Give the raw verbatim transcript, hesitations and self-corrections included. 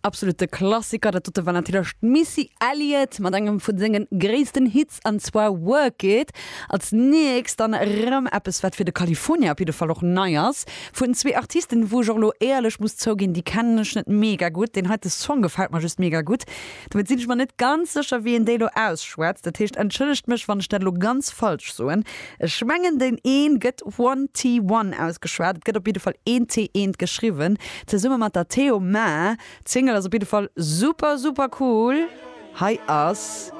Absolute Klassiker, dat dote war natierlech d'Missy Elliott mat engem vu sengen gréissten Hits an zwar Work It. Als nächst dann erëm eppes wat fir de California op jidde Fall och nei ass, vun zwee Artisten wou ech och elo éierlech muss zouginn, déi kennen ech net mega gutt. Deen heite Song gefält mer just mega gutt. Domat sinn ech mer net ganz sécher wéi een déi elo ausschwätzt, dat heescht entschëllegt mech wann ech dat elo ganz falsch soen. Ech mengen deen een gëtt One T One ausgeschwat, et gëtt op jidde Fall een T eent geschriwwen, zesumme mat der Theo Ma. D'Single ass op jidde Fall super super cool. Hei ass.